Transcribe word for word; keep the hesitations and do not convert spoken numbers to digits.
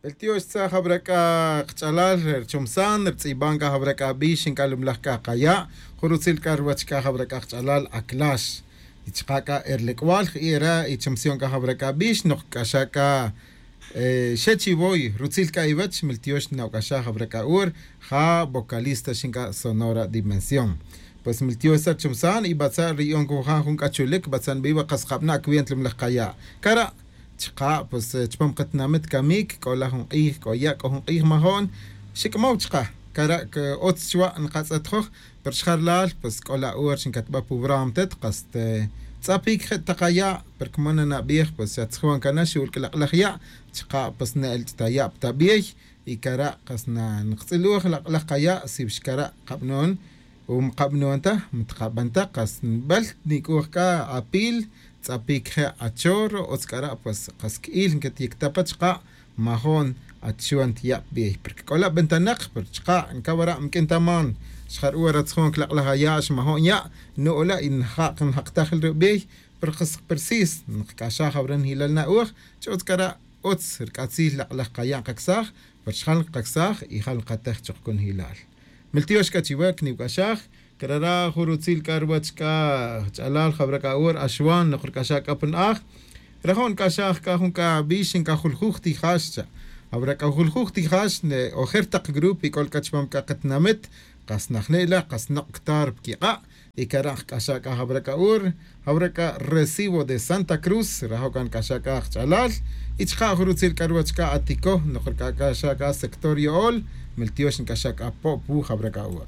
Beltiox tzaj jabra c'a kach'alal rchomsan rtz'iban c'a jabra c'a bix nc'alumlaj c'a kaya'. Jun rutzil c'a ruwech c'a jabra c'a kach'alal aclax y chaka' c'a erlec'wal ji'era y chomsion c'a jabra c'a bix nok c'axa c'a xe chivoy rutzil c'a iwech meltiox nawc'axaj jabra c'a ur ja vocalista xin c'a sonora dimensión. Pues meltiox sa' rchomsan y batza' riyon cujaj jun c'a chulic batza' nbiwa kas kabana' cuenta lumlaj kaya'. Cara' chaka' pues chupam katinamit camic c'o la jun k'ij c'o ya' c'o jun k'ij majo'n xic'mow chaka'. Cara' c'o otz chuwa' nkatz'et joj pero xjalal pues c'o la hora xincatba' pu brama tet kas tz'apic je' ta kaya' pero cuma nanabij pues xa tzjuan cana xul c'lak'laj ya' chaka' pues ne'el ch'ta ya' pta bey. Y cara' kas na nktz'iluj lak'laj kaya' si wix cara' kabnon o mkabnon ta mtkaban ta kas nbel nic'uj c'a apil tz'apic je' achorro otz c'ara' pues kas quil nquetiyicta pa chaka' majo'n achuan tiya' pbey porque c'o la bentanak pero chaka' ncawara' mq'uin ta man xjar ura tzjon clak'laj aya' xmajo'n ya' nu'ula' y njak' njak taj rubi' pero kas persis nkac'axaj jawra njilal na'uj ch'utz c'ara' utz rc'atzil lak'laj kaya' nkacsaj pero xjal nkacsaj y jal nkatej chuk cunjilal. Miltiox c'a chiwe cniwc'axaj. Crara' jun rutzil c'a ruwech c'a ch'alal jawra c'a ur axwan nok rc'axaj c'a pa na'aj rajo' nc'axaj c'a jun c'a bix ncajuljuj tijal xcha'. Jawra c'a juljuj tijal xne ojer tak grupo y c'ol c'a chupam c'a katinamit kas najne' la kas nok' ctar pa quik'a'. Y cara' nkac'axaj c'a jawra c'a ur jawra c'a recibo de santa cruz rajo' c'a nc'axaj c'a kach'alal. Y chaka' jun rutzil c'a ruwech c'a atico nok rc'axaj c'a sector yo'ol. Miltiox nc'axaj c'a po' pu jawra c'a ur.